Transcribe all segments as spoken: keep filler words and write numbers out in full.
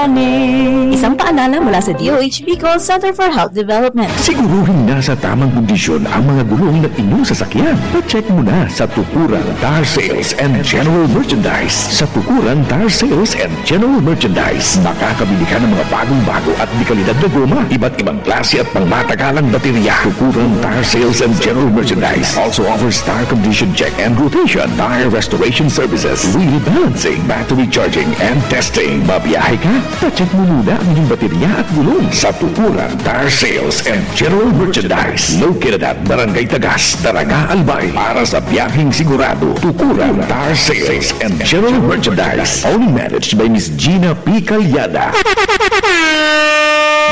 Isang paalala mula sa D O H Bicol Center for Health Development. Siguruhing nasa tamang kondisyon ang mga gulong ng inyong sasakyan. Pa-check muna sa Tukuran Tire Sales and General Merchandise. Sa Tukuran Tire Sales and General Merchandise, makakabili ka ng mga bagong-bago at dekalidad na goma, iba't ibang klase at pangmatagalang baterya. Tukuran Tire Sales and General Merchandise also offers tire condition check and rotation, tire restoration services, wheel balancing, battery charging, and testing. Mabiyahe ka? Pa-check mo muna ang iyong baterya at gulong sa Tukuran Tire Sales and General Merchandise. Located at Barangay Tagas, Daraga, Albay. Para sa biyaheng sigurado, Tukuran Tire Sales and General Merchandise. Only managed by Miss Gina P. Calyada.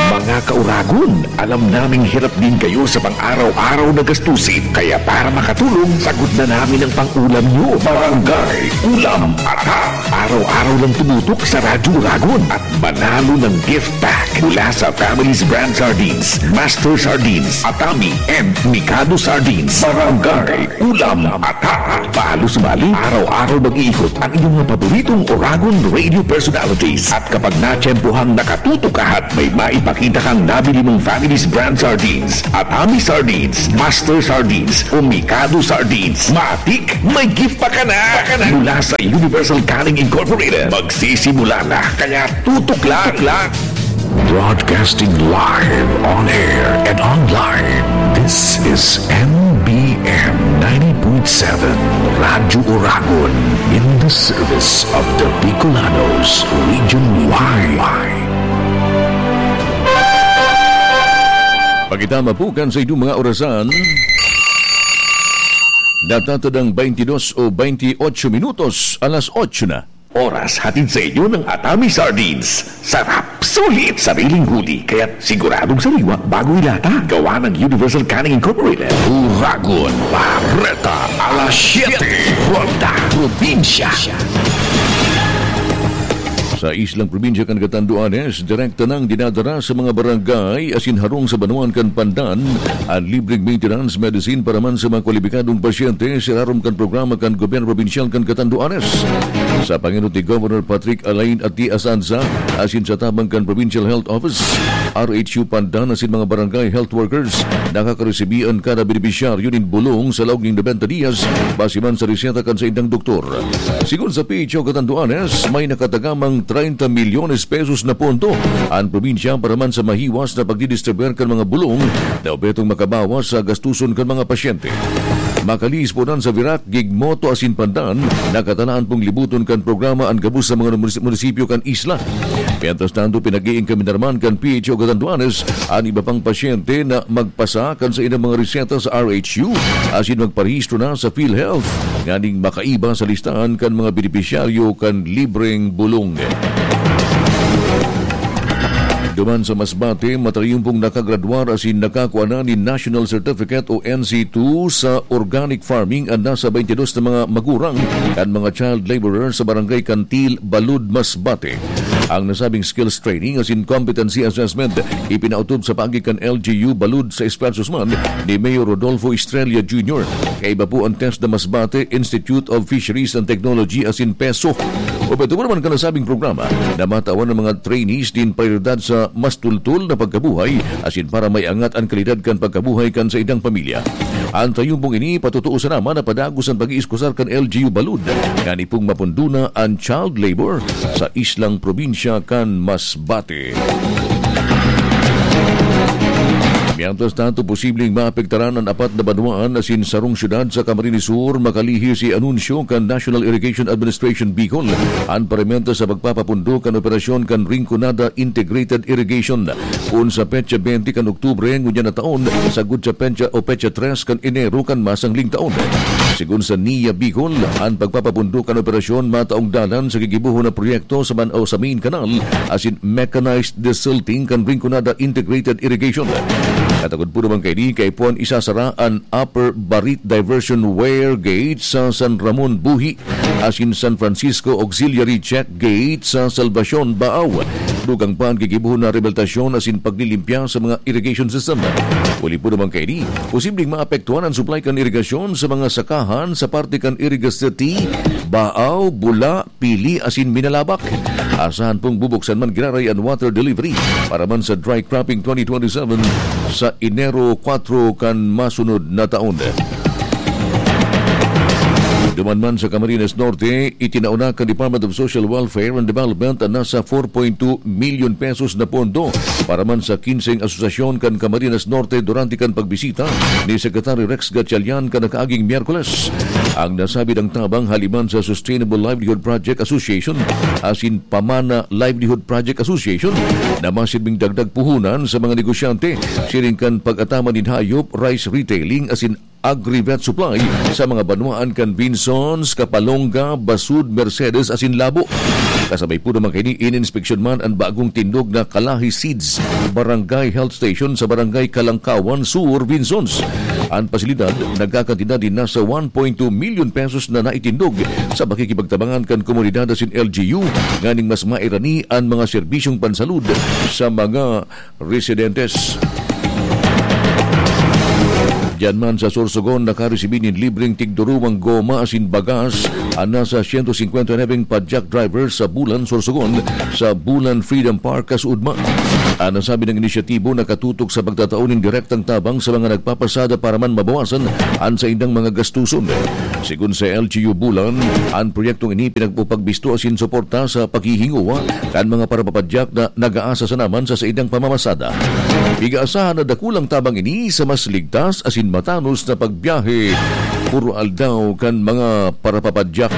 Mga kauragon, alam naming hirap din kayo sa pang-araw-araw na gastusin. Kaya para makatulong, sagot na namin ang pang-ulam nyo. Barangay Ulam Ata. Araw-araw lang tumutok sa Radyo Uragon at manalo ng gift pack mula sa Family's Brand Sardines, Master Sardines, Atami, and Mikado Sardines. Barangay Ulam Ata. Paalo-sumali, araw-araw mag-iikot ang inyong mga paboritong Uragon radio personalities. At kapag natiyempohang nakatutok ka at may maipakita kang nabili mong Family's Brand Sardines, Atami Sardines, Master Sardines, o Mikado Sardines, matik, may gift pa ka na! Mula sa Universal Canning Incorporated, magsisimula na. Kaya tutok lang! Broadcasting live on air and online. This is M B M ninety point seven Radyo Uragon, in the service of the Bicolanos region wide. Pagitama po kan sa inyong mga orasan. Natatadang twenty-dos o twenty-ocho minutos, alas otso na. Oras hatid sa inyo ng Atami Sardines. Sarap, sulit, sariling huli, kaya siguradong sariwa bago ilata. Gawa ng Universal Canning Incorporated. Uragon, Bareta, alas siyete, Ronda, Probinsya. Sa islang probinsya kan Catanduanes, direkta nang dinadara sa mga barangay asin harong sa banwaan kan Pandan an libreng maintenance medicine para man sa mga kwalipikadong pasyente sa ilarom kan programa kan Gobyerno Probinsyal kan Catanduanes. Sa pangenot ni Governor Patrick Alain Ati Asanza asin sa tabang kan Provincial Health Office, R H U Pandan asin mga barangay health workers, nakakaresibi an kada benepisyaryo nin bulong sa laog nin nobenta dias, base man sa reseta kan saindang doktor. Sigon sa P H O Catanduanes, may nakatagamang treinta milyones pesos na pondo an probinsya para man sa mahiwas na pagdidistribuir kan mga bulong na obhetong makabawas sa gastuson kan mga pasyente. Makalihis po dan sa Virac, Gigmoto asin Pandan, nakatalaan pong libuton kan programa an gabos sa mga munis-, munisipyo kan isla. Mientras tanto, pinag-iingkamin na naman kan P H O Catanduanes an iba pang pasyente na magpasa kan saindang mga reseta sa R H U asin magparehistro na sa PhilHealth nganing makaiba sa listahan kan mga benepisyaryo kan libreng bulong. Duman sa Masbate, matayong pong nakagradwar asin nakakua na nin National Certificate o N C two sa organic farming an nasa twenty-dos na mga magurang kan mga child laborer sa Barangay Kantil, Balud, Masbate. Ang nasabing skills training asin competency assessment ipinaotob sa paagi kan L G U Balud sa esfuerzos man ni Mayor Rodolfo Estrella Junior. Kaiba po an TESDA Masbate Institute of Fisheries and Technology asin PESO. Obhetibo naman kan nasabing programa na matawan an mga trainees nin prioridad sa mas tultol na pagkabuhay asin para maiangat an kalidad kan pagkabuhay kan saindang pamilya. An tayong pong ini, patotoo sana man na padagos an pag-iiskusar kan L G U Balud, ngani pong mapundona an child labor sa islang probinsya kan Masbate. Mientras tanto, posibleng maapektaran an apat na banwaan asin sarong syudad sa Camarines Sur, makalihis sa anunsyo kan National Irrigation Administration Bicol, an parimenta sa pagpapapundo kan operasyon kan Rinconada Integrated Irrigation. Kun sa petsa twenty kan Oktubre ngunyan na taon, sagkod sa petsa o petsa tres kan Enero kan masangling taon. Sigon sa NIA Bicol, an pagpapapundo kan operasyon mataong dalan sa gigibohon na proyekto sa man o sa main canal asin mechanized desilting kan Rinconada Integrated Irrigation. Katagod po naman kaini, kaipuhan isasara an Upper Barit Diversion Weir Gate sa San Ramon Buhi asin San Francisco Auxiliary Check Gate sa Salvacion, Baao. Dugang pa an gigibohon na rehabilitasyon asin paglilimpya sa mga irrigation system. Huli po naman kaini, posibleng maapektuhan an supply kan irigasyon sa mga sakahan sa parte kan Irigas City, Baao, Bula, Pili asin Minalabac. Asahan pong bubuksan man giraray an water delivery para man sa dry cropping twenty twenty-seven sa Enero kwatro kan masunod na taon. Duman man sa Camarines Norte, itinao na kan Department of Social Welfare and Development an nasa four point two milyon pesos na pondo para man sa kinseng asosasyon kan Camarines Norte durante kan pagbisita ni Secretary Rex Gatchalian kan nakaaging Miyerkules. Ang nasabidang tabang hali man sa Sustainable Livelihood Project Association asin Pamana Livelihood Project Association na masirbing dagdag puhunan sa mga negosyante siring kan pag-ataman nin hayop, rice retailing asin agri-vet supply sa mga banwaan kan Vinzons, Capalonga, Basud, Mercedes asin Labo. Kasabay po naman kaini, ininspeksyon man an bagong tindog na Kalahi Seeds Barangay Health Station sa Barangay Kalangkawan, Sur, Vinzons. An pasilidad nagkakantidad nin nasa one point two milyon pesos na naitindog sa pakikipagtabangan kan komunidad asin L G U nganing mas mairani an mga serbisyong pansalud sa mga residentes. Diyan man sa Sorsogon, nakaresibi nin libreng tigduruwang goma asin bagas an nasa siyento singkwenta na nabing padyak driver sa Bulan, Sorsogon, sa Bulan Freedom Park, Kasuudma. An nasabing inisyatibo nakatutok sa pagtatao nin direktang tabang sa mga nagpapasada para man mabawasan an saindang mga gastuson. Sigon sa L G U Bulan, an proyektong ini pinagpupagbisto asin suporta sa paghihingowa kan mga parapapadyak na nag-aasa sana man sa saindang pamamasada. Pig-aasahan na dakulang tabang ini sa mas ligtas asin matanos na pagbiyahe puro aldaw kan mga parapapadyak.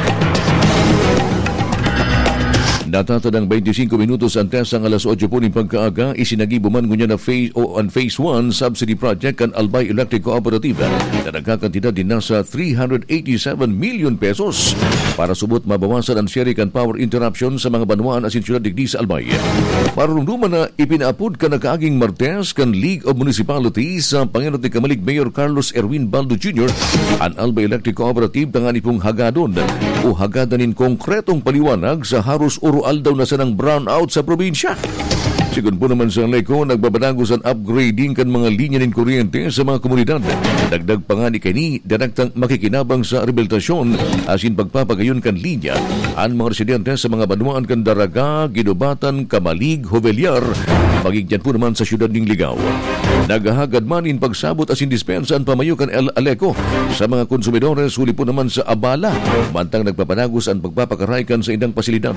Natatadang twenty-five minutos an TESDA alas otso po nin pagkaaga, isinagibo man ngunyan na phase o an Phase one Subsidy Project kan Albay Electric Cooperative na nagkakantidad nin nasa three hundred eighty-seven million pesos para subot mabawasan an siyari kan power interruption sa mga banwaan asin syudad digdi sa Albay. Marurumduman na ipinaapod kan nakaaging Martes kan League of Municipalities sa pangenot ni Kamalig Mayor Carlos Erwin Baldo Junior an Albay Electric Cooperative tanganing pong hagadon o hagadan nin konkretong paliwanag sa haros oro-aldaw na sanang brownout sa probinsya. Sigon po naman sa Aleco, nagbabanagos an upgrading kan mga linya nin kuryente sa mga komunidad. Dagdag pa ngani kaini, direktang makikinabang sa rehabilitasyon asin pagpapagayon kan linya an mga residente sa mga banwaan kan Daraga, Guinobatan, Camalig, Jovellar, maging diyan po naman sa siyudad nin Ligao. Naghahagad man nin pagsabot asin dispensa an pamayo kan El Aleco sa mga konsumidores huli po naman sa abala, mantang nagpapanagos an pagpapakaray kan saindang pasilidad.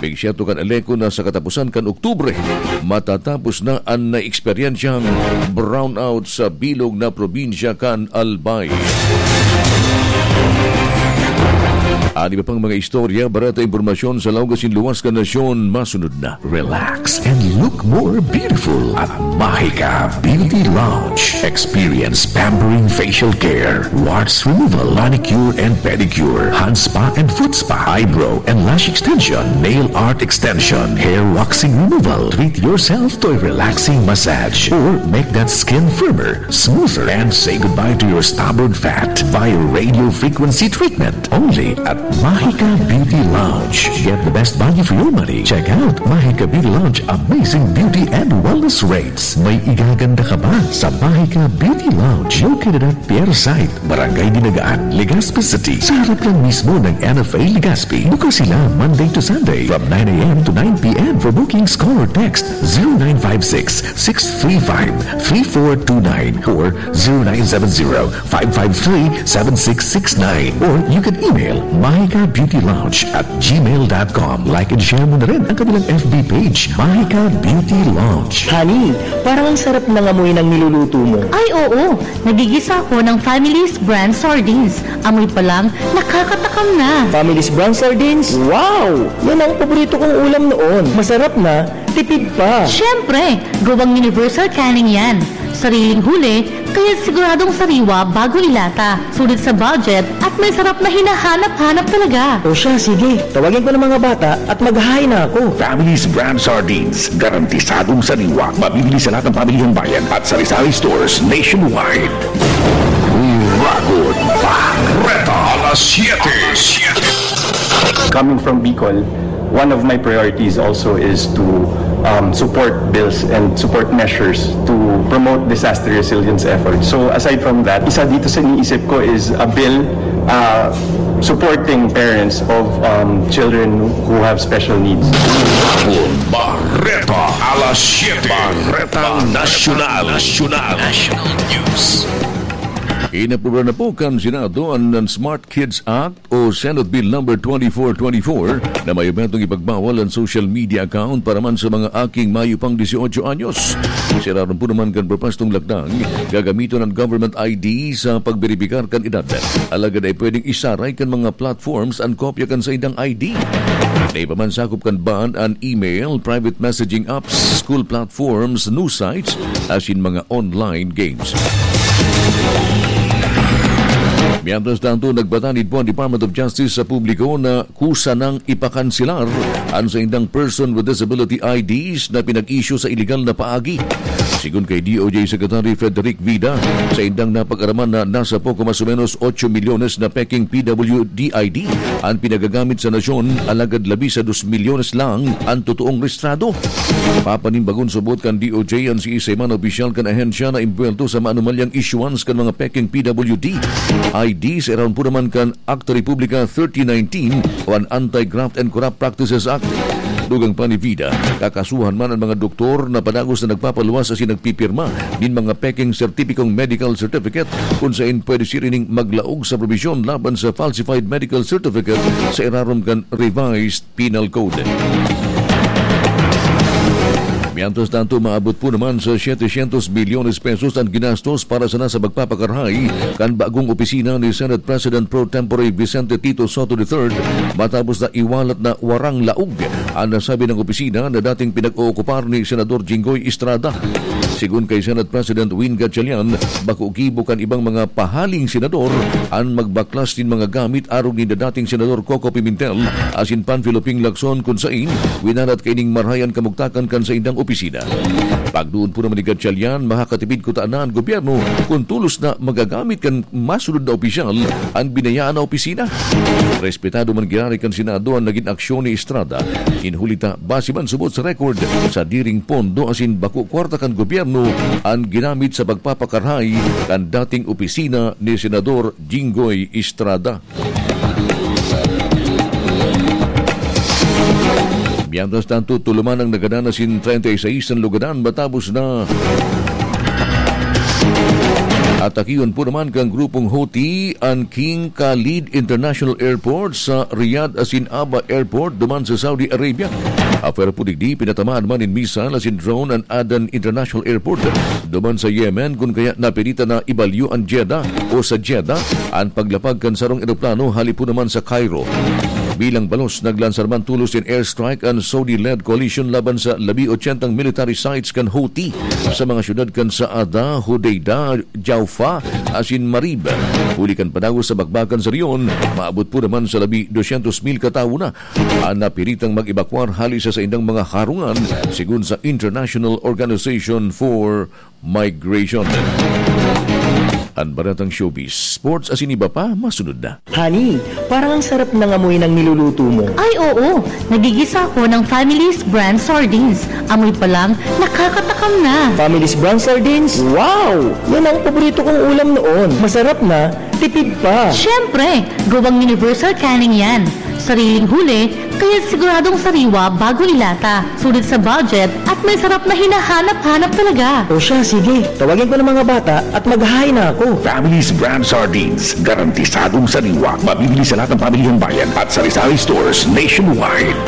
Pigsiyerto kan Aleco na sa katapusan kan Oktubre, matatapos na an naeksperyensyang brownout sa bilog na probinsya kan Albay. An iba pang mga istorya, bareta, impormasyon sa laog asin luwas kan nasyon, masunod na. Relax and look more beautiful at Mahika Beauty Lounge. Experience pampering facial care, warts removal, manicure and pedicure, hand spa and foot spa, eyebrow and lash extension, nail art extension, hair waxing removal. Treat yourself to a relaxing massage or make that skin firmer, smoother, and say goodbye to your stubborn fat via radio frequency treatment. Only at Mahika Beauty Lounge. Get the best value for your money. Check out Mahika Beauty Lounge amazing beauty and wellness rates. May igaganda ka ba sa Mahika Beauty Lounge? Located at Pier Site, Barangay Dinagaan, Legazpi City. Sa harap lang mismo ng N F A Legazpi. Bukas sila Monday to Sunday from nine a m to nine p m. For bookings, call or text zero nine five six, six three five, three four two nine or zero nine seven zero, five five three, seven six six nine. Or you can email mahika beauty lounge at gmail dot com. Like and share mo na rin ang kanilang F B page, Mahika Beauty Lounge. Honey, parang ang sarap ng amoy ng niluluto mo. Ay, oo! Nagigisa ako ng Family's Brand Sardines. Amoy pa lang, nakakatakam na. Family's Brand Sardines? Wow! Yan ang paborito kong ulam noon. Masarap na, tipid pa. Siyempre, gawang universal canning yan. Sariling huli, kaya siguradong sariwa bago ilata. Sulit sa budget at may sarap na hinahanap-hanap talaga. O siya, sige. Tawagin ko ng mga bata at maghahain na ako. Family's Brand Sardines. Garantisadong sariwa. Mabibili sa lahat ng pamilihang bayan at sari-sari stores nationwide. Ragon Barreta, alas siyete. Coming from Bicol, One of my priorities also is to um, support bills and support measures to promote disaster resilience efforts. So aside from that, isa dito sa iniisip ko is a bill uh, supporting parents of um, children who have special needs. Barreta alas siyete. Barreta Nasyonal. Nasyonal. National News. Inaprubahan na po kan Senado an, an Smart Kids Act o Senate Bill Number twenty-four twenty-four na may objetong ipagbawal an social media account para man sa mga aking mayo pang dieciocho anyos. Siraron po naman kan propostong lakdang, gagamiton an government I D sa pagberipikar kan edad. Alagad ay pwedeng isaray kan mga platforms an kopya kan saindang I D. Naiba man sakop kan ban an email, private messaging apps, school platforms, news sites, asin mga online games. Mientras tanto, nagpatanid po ang Department of Justice sa publiko na kusa nang ipakanselar an saindang person with disability I Ds na pinag-issue sa iligal na paagi. Sigon kay D O J Secretary Frederick Vida, saindang napag-araman na nasa poko mas o menos otso milyones na peking P W D I D an pinagagamit sa nasyon, alagad labi sa dos milyones lang an totoong rehistrado. Papanimbagon subot kan D O J an siisay man na opisyal kan ahensya na imbuwelto sa maanumalyang issuance kan mga peking P W D I Ds, iraon po naman kan Acta Republica thirty nineteen o an Anti-Graft and Corrupt Practices Act. Dugang pa ni Vida, kakasuhan man an mga doktor na padagos na nagpapaluwas asin nagpipirma nin mga peking sertipikong medical certificate, kun sain pwede siring ning maglaog sa probisyon laban sa falsified medical certificate sa irarom kan Revised Penal Code. Mientras tanto, maabot po naman sa setecientos milyones pesos an ginastos para sana sa pagpapakarahay kan bagong opisina ni Senate President Pro Tempore Vicente Tito Sotto the third, matapos na iwalat na warang laog an nasabing opisina na dating pinag-ookupar ni Senador Jinggoy Estrada. Sigon kay Senate President Win Gatchalian, bako gibo kan ibang mga pahaling senador an magbaklas nin mga gamit arog ni dating Senador Coco Pimentel asin Panfilo Ping Lacson, kun sain winalat kaining marahay an kamugtakan kan saindang opisina. Pagduon po naman ni Gatchalian, makakatipid kutana an gobyerno kun tolos na magagamit kan masunod na opisyal an binayaan na opisina. Respetado man giraray kan Senado an nagin aksyon ni Estrada, nin huli ta base man subot sa record, sadiring pondo asin bako kwarta kan gobyerno an ginamit sa pagpapakarahay kan dating opisina ni Senador Jinggoy Estrada. Mientras tanto, tuluman ang nagadan asin treinta y seis an lugadan matapos na atakion po naman kan grupong Houthi an King Khalid International Airport sa Riyadh asin Aba Airport duman sa Saudi Arabia. Apwera po digdi, pinatamaan man nin missile asin drone an Aden International Airport duman sa Yemen, kun kaya napilitan na ibalyo an Jeddah o sa Jeddah an paglapag kan sarong eroplano hali po naman sa Cairo. Bilang balos, naglansar man tolos nin airstrike an Saudi-led coalition laban sa labi ochentang military sites kan Houthi sa mga syudad kan Saada, Hodeidah, Jaufa asin Marib. Huli kan padagos sa bakbakan sa rehiyon, maabot po naman sa labi dosyentos mil katawo na an napiritang mag-ebakwar hali sa saindang mga harungan, sigon sa International Organization for Migration. An baretang showbiz, sports asin iba pa, masunod na. Honey, parang ang sarap ng amoy ng niluluto mo. Ay oo, nagigisa ako ng Family's Brand Sardines. Amoy pa lang, nakakatakam na. Family's Brand Sardines? Wow! Yan ang paborito kong ulam noon. Masarap na, tipid pa. Siyempre, gawang universal canning yan. Sariling huli, kaya siguradong sariwa bago ilata. Sulit sa budget at may sarap na hinahanap-hanap talaga. O siya, sige. Tawagin ko ng mga bata at maghahain na ako. Family's Brand Sardines. Garantisadong sariwa. Mabibili sa lahat ng pamilihang bayan at sari-sari stores nationwide.